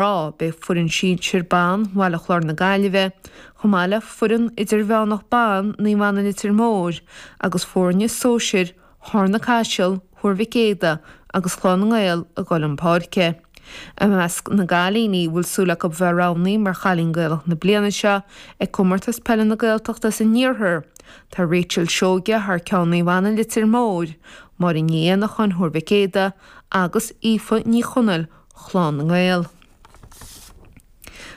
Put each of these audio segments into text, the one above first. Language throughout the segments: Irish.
Mná, beidh foireann sinsir ban Bhaile Chláir na Gaillimhe, chomh maith le foireann idirmheánach ban Naomh Anna Leitir Móir agus foirne sóisir Charna Caiseal, Thuar Mhic Éadaigh agus Clann na nGael ag dul chun páirce. I measc na gcailíní a bhfuil súil acu bheith roghnaithe mar Chailín Gaelach na bliana seo ag Comórtas Peile na Gaeltachta san Iarthar, tá Rachel Seoige thar ceann Naomh Anna Leitir Móir, Máirín Ní Éanacháin Thuar Mhic Éadaigh agus Aoife Ní Chonaill Chlann na nGael.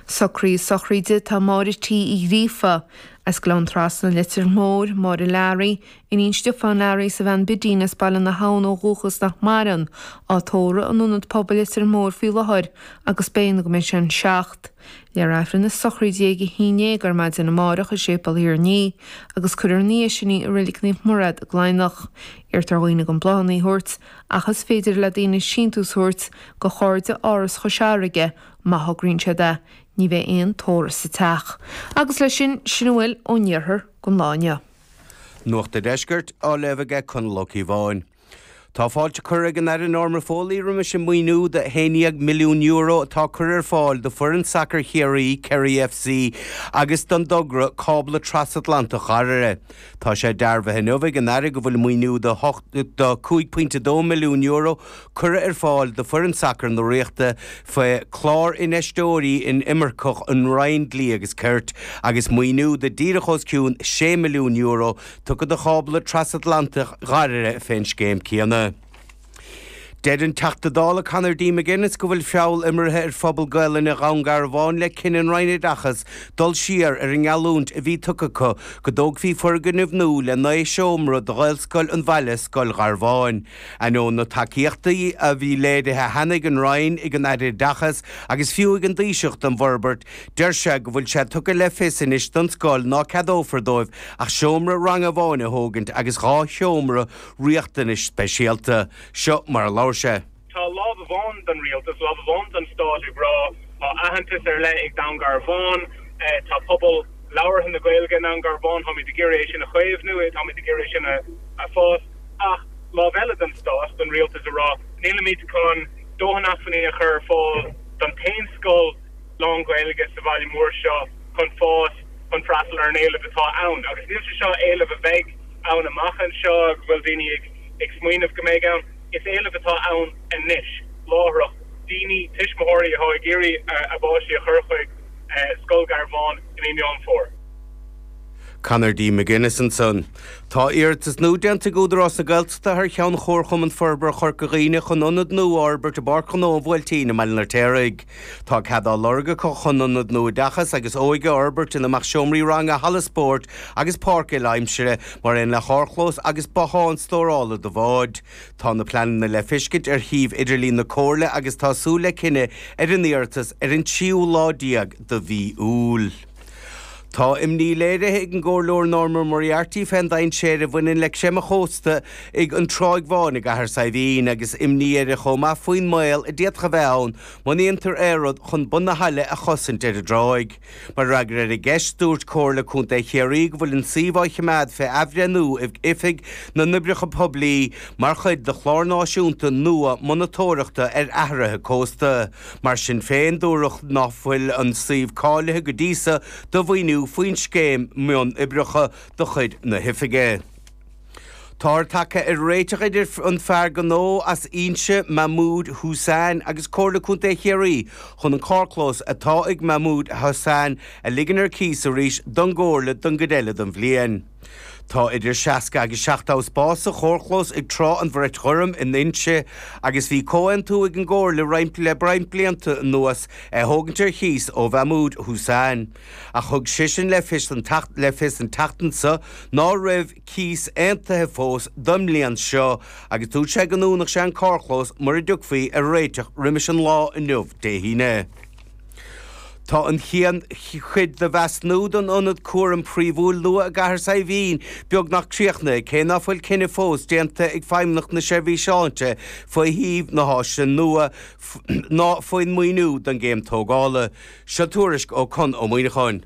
Socruithe sochraide Tá Máire T. Uí Ghríofa, as Gleann Trasna, Leitir Móir, Máire Learaí, iníon Stiofáin Learaí is a bhean Bidín as Baile na hAbhann ó dhúchas nach maireann, á tórramh in Ionad Pobail Leitir Móir faoi láthair agus beidh go mbeidh sé an 7. Léifear Aifreann na sochraide ag 11 ar maidin amárach i Séipéal Thír an Fhia agus cuirfear ina dhiaidh sin í i Reilig Naomh Murad i gCladhnach. Iarrtar ar dhaoine gan bláthanna a thabhairt Ach is féidir le daoine síntiús a thabhairt go Chairde Áras Chois Fharraige má thograíonn siad é. Ní bheidh aon tórramh sa teach. Agus leis sin, sin a bhfuil ón iarthar don lá inniu. Nuacht an Deiscirt á léamh aige Conall Ó Cíobháin. Tá fáilte curtha ag an Aire Norma Foley roimis an maoiniú de €11 milliún atá curtha ar fáil do foireann sacair Chiarraí, Kerry FC, agus don dtogra Cábla Trasatlantach Dhoire. Tá sé dearbhaithe inniu ag an Aire go bhfuil maoiniú de €5.2 milliún curtha ar fáil do foireann sacair na Ríochta faoi Clár Infheisteoirí Inimirceach an Roinn Dlí agus Cirt agus maoiniú de díreach os cionn €6 milliún tugtha do Chábla Trasatlantach Dhoire fén scéim céanna. Deir an Teachta Dála Conor D. McGuinness go bhfuil feall imeartha ar phobal Gaelainne Dhún Garbhán le cinneadh an Roinn Oideachais dul siar ar an ngeallúint a bhí tugtha acu go dtógfaí foirgneamh nua le 9 seomra do Ghaelscoil an bhaile, Scoil Gharbháin. Ainneoin na tacaíochtaí a bhí léirithe cheana ag an Roinn, ag an Aire Oideachais agus fiú ag an dTaoiseach don bhforbairt, deir sé go bhfuil sé tugtha le fios anois don scoil ná ceadófar dóibh ach seomra ranga amháin a thógaint agus dhá sheomra riachtanais speisialta. Seo mar a labhair sé. Tá lámh amháin den rialtas, lámh amháin den stát ag rá tá aitheantas ar leith ag Dún Garbhán, tá pobal labhartha na Gaeilge i nDún Garbhán, táimid ag iarraidh é sin a chaomhnú, táimid ag iarraidh é sin a fás, ach lámh eile den stát, den rialtas ag rá nílimid chun dóthain acmhainní a chur ar fáil don t-aon scoil lán-Ghaeilge sa bhaile mór seo chun fás, chun freastal ar an éileamh atá ann. Agus níl sé seo éileamh a bheidh ann amach anseo, go bhfuil daoine ag ag smaoineamh go mbeidh ann. Is éileamh atá ann anois, láithreach, daoine, tuismitheoirí atá ag iarraidh a bpáistí a chur chuig Scoil Gharbháin i mí Meán Fómhair. Conor D. McGuinness ansan. Tá iarratas nua déanta ag Údarás na Gaeltachta thar cheann Chomharchumann Forbartha Chorca Dhuibhne chun ionad nua a fhorbairt i bPáirc Ghnó an Bhuailtín i mBaile an Fheirtéaraigh. Tá cead á lorg acu chun ionad nua oideachais agus óige a fhorbairt ina mbeadh seomraí ranga, halla spóirt agus páirc uile-aimsire, mar aon le carrchlós agus bothán stórála do bháid. Tá na pleananna le feiscint ar shuíomh idirlín na Comhairle agus tá súil le cinneadh ar an iarratas ar an tríú lá déag de mhí Iúil. Tá imní léirithe ag an gComhairleoir Norma Moriarty fén dainséar a bhaineann le creimeadh chósta ag an Tráigh Bháin i gCathair Saidhbhín agus imní uirthi chomh maith faoin mbaol a d'fhéadfadh a bheith ann má ndéantar aon rud chun bun na haille a chosaint ar an dtráigh. Mar fhreagra ar an gceist, dúirt Comhairle Contae Chiarraí go bhfuil an suíomh á choimeád fé athbhreithniú ag Oifig na nOibreacha Poiblí mar chuid de chlár náisiúnta nua monatóireachta ar athruithe cósta. Mar sin féin, dúradh ná fuil an suíomh cáilithe go dtí so do mhaoiniú faoin scéim mionoibreacha de chuid na hOifige. Táthar tagtha ar réiteach idir an fear gnó as Inse, Mahmood Hussain, agus Comhairle Contae Chiarraí chun an carrchlós atá ag Mahmood Hussain a ligean ar cíos arís don gComhairle don gcuid eile den bhliain. Tá idir 60 agus 70 spás sa charrchlós ag Trá an Bhrait Ghoirm in Inse agus bhí comhaontú ag an gComhairle roinnt le roinnt blianta anuas é a thógaint ar chíos ó Mhahmood Hussain. Ach thug seisean le fios an le fios an tseachtain seo ná raibh cíos aontaithe fós don mbliain seo agus dúirt sé go ndúnfadh sé an carrchlós mura dtiocfaí ar réiteach roimis an lá inniu, Dé hAoine. Tá an chéad chuid de mheasúnú don ionad cúraim príomhúil nua i gCathair Saidhbhín beagnach críochnaithe, cé ná fuil cinneadh fós déanta ag Feidhmeannacht na Seirbhíse Sláinte faoi shuíomh na háise nua ná faoin maoiniú don gcéim tógála. Seo tuairisc ó Con Ó Muíneacháin.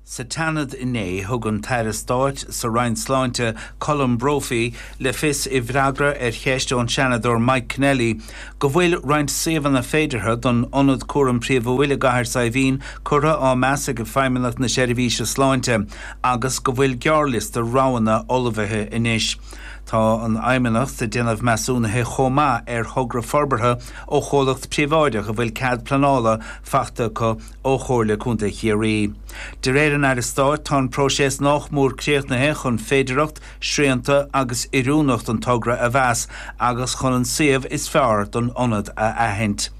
Sa tSeanad inné, thug an tAire Stáit sa Roinn Sláinte, Colm Brophy, le fios i bhfreagra ar cheist ón Seanadóir Mike Kennelly go bhfuil roinnt suíomhanna féideartha don Ionad Cúraim Phríomhúil i gCathair Saidhbhín curtha á meas ag Feidhmeannacht na Seirbhíse Sláinte agus go bhfuil gearrliosta roghanna ullmhaithe anois. Tá an Fheidhmeannacht ag déanamh measúnaithe chomh maith ar thogra forbartha ó chomhlacht príobháideach a bhfuil cead pleanála faighte acu ó Chomhairle Contae Chiarraí. De réir an Aire Stáit, tá an próiseas nách mór críochnaithe chun féidearthacht, srianta agus oiriúnacht an togra a mheas agus chun an suíomh is fearr don ionad a aithint.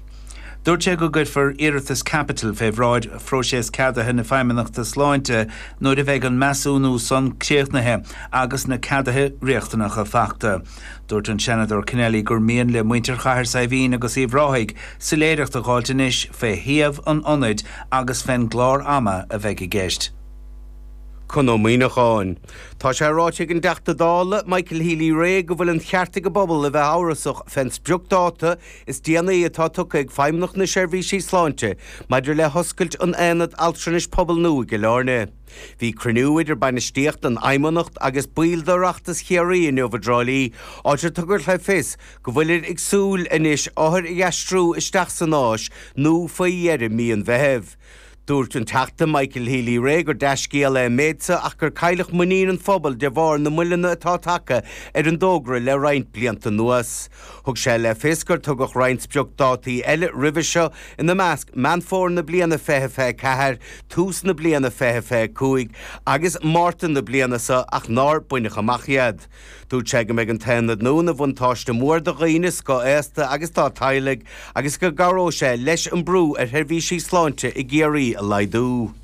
Dúirt sé go gcuirfear iarratas caipitil fé bhráid phróiseas ceadaithe na Feidhmeannachta Sláinte nuair a bheidh an measúnú san críochnaithe agus na ceaduithe riachtanacha faighte. Dúirt an Seanadóir Kennelly gur mian le muintir Chathair Saidhbhín agus Uíbh Ráthaigh soiléireacht a dh'fháilt anois fé shuíomh an ionaid agus fén gclár ama a bheidh i gceist. Con Ó Muíneacháin. Tá sé ráite ag an dTeachta Dála, Michael Healy-Rae, go bhfuil an cheart ag an bpobal a bheith amhrasach fén spriocdháta is déanaí atá tugtha ag Feidhmeannacht na Seirbhísí Sláinte maidir le hoscailt an Aonad Altranais Pobail nua i gCill Airne. Bhí cruinniú idir bainistíocht an Fheidhmeannacht agus baill d'Oireachtas Chiarraí inniu i dTrá Lí, áit ar tugadh le fios go bhfuilir ag súil anois othair a aistriú isteach san áis nua faoi dheireadh mí an Mheithimh. Dúirt an Teachta Michael Healy-Rae gur dea-scéal é an méid seo ach gur cailleadh muinín an phobail de bharr na moilleanna atá tagtha ar an dtogra le roinnt blianta anuas. Thug sé le fios gur tugadh roinnt spriocdátaí eile roimhe seo, ina measc Meán Fómhair na bliana 2024, tús na bliana 2025 agus Márta na bliana seo ach nár baineadh amach iad. Dúirt sé go mbeidh an t-aonad nua ina bhuntáiste mór do dhaoine scothaosta agus dá dteaghlaigh agus go gcabhróidh sé leis an brú ar sheirbhísí sláinte i gCiarraí a laghdú.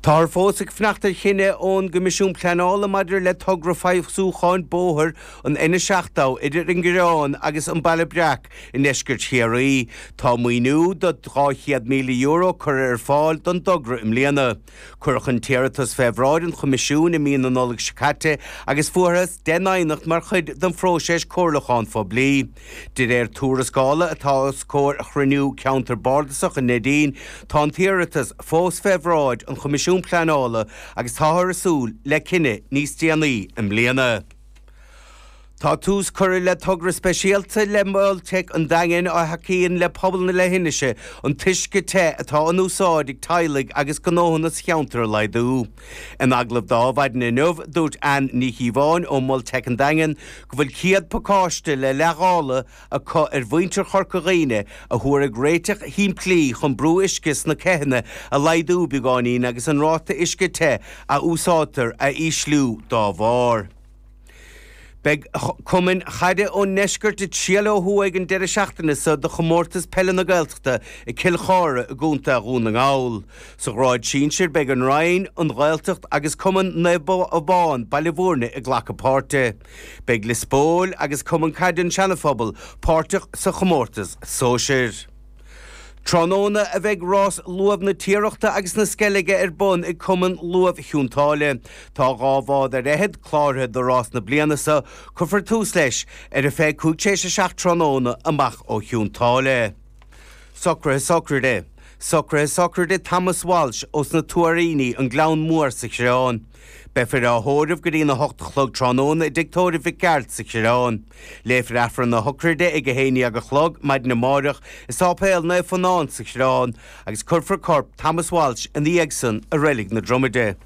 Táthar fós ag fanacht ar chinneadh ón gCoimisiún Pleanála maidir le togra feabhsúcháin bóthair an N70 idir an Gleann agus an Baile Breac I ndeisceart Chiarraí, tá maoiniú de €200,000 curtha ar fáil don dtogra i mbliana. Cuireadh an t-iarratas fé bhráid an Choimisiúin i mí na Nollag seo caite agus fuarthas 10 n-aighneacht mar chuid den phróiseas comhairliúcháin phoiblí. De réir tuarascála atá os comhair chruinniú Ceantar Bardasach i Neidín, tá an t-iarratas fós fé bhráid an Choimisiúin Pleanála agus táthar ag súil le cinneadh níos déanaí i mbliana. Tá tús curtha le togra speisialta le Mol Teic an Daingin a thacaíonn le pobal na leithinise an t-uisce te atá in úsáid ag teaghlaigh agus gnóthanna sa cheantar a laghdú. In agallamh do Adhmhaidin inniu, dúirt Ann Ní Chíobháin ó Mhol Teic an Daingin go bhfuil 100 pacáiste le leithdháileadh acu ar mhuintir Chorca Dhuibhne a thabharfaidh réiteach shimplí chun brú uisce sna ceitheanna a laghdú beagáinín agus an ráta uisce te a úsáidtear a ísliú dá bharr. Beidh cumainn chaide ón ndeisceart ag triall ó thuaidh an deireadh seachtaine seo do chomórtas peile na Gaeltachta i gCill Chartha i gContae Dhún na nGall. Sa ghrád sinsir beidh an Rinn, an Ghaeltacht agus Cumann Naomh Abán, Baile Bhúirne ag glacadh páirte. Beidh Lios Póil agus Cumann Caide an Seana-Phobal páirteach sa chomórtas sóisir. Tráthnóna a bheidh rás luamh na Tiarachta agus na Sceilge ar bun ag Cumann Luamh Chionn tSáile. Tá 12 bhád ar fhichead cláraithe do rás na bliana seo. Cuirfear tús leis ar a 25 tar éis a 7 tráthnóna amach ó Chionn tSáile. Socruithe Sochraide Socruithe Sochraide Thomas Walsh ós na Tuairíní, An Gleann Mór sa Choireán. Beifear á thórramh go dtí'n 8 a chlog tráthnóna i dTigh Tórraimh Mhic Gearailt sa Choireán. Léifear Aifreann na sochraide ag 11 a chlog maidin amáireach i Sáipéal Naomh Fionán sa Choireán agus cuirfear corp Thomas Walsh ina dhiaidh san i Reilig na Dromaide.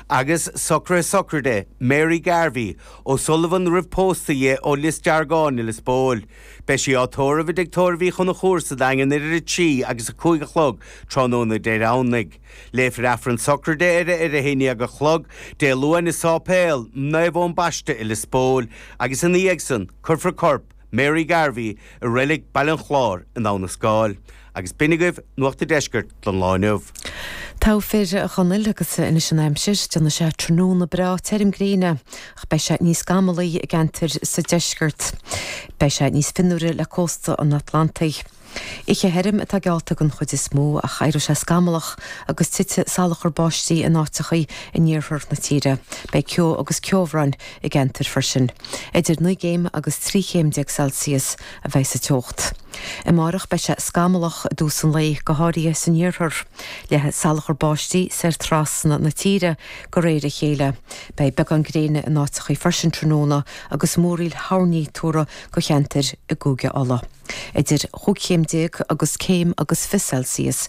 Agus socruithe sochraide Mary Garvey, O'Sullivan roimh pósta dhi ó Lios Deargáin i Lios Póil. Beidh sí á tórramh i dTigh Tórraimh Uí Chonchúir sa Daingean idir 3 agus 5 a chlog tráthnóna Dé Domhnaigh. Léifear Aifreann sochraide uirthi ar a 11 a chlog Dé Luain i Sáipéal Naomh Eoin Baiste i Lios Póil agus ina dhiaidh san cuirfear corp Mary Garvey i Reilig Baile an Chláir in Abha na Scáil. Agus b'in agaibh Nuacht a' Deiscirt don lá inniu. Togha fir, a Chonaill, agus anois an aimsir. Déanfaidh sé tráthnóna breá tirim gréine ach beidh sé níos gamallaí i gceantair sa deisceart. Beidh sé níos fionnuaire le cósta an Atlantaigh. Oíche thirim atá geallta den chuid is mó ach éireoidh sé scamallach agus titfidh salachar báistí in áiteachaí in iarthar na tíre. Beidh ceo agus ceobhrán i gceantair freisin. Idir 9 gcéim agus 13 chéim Celsius a bheidh sa teocht. Amárach beidh sé scamallach i dtús an lae, go háirithe san iarthar. Le salachar báistí soir trasna na tíre de réir a chéile. Beidh beagán gréine in áiteachaí freisin tráthnóna agus múraíl thoirní tuartha do cheantair i gCúige Uladh. Idir chúig chéim déag agus céim agus 20 Celsius.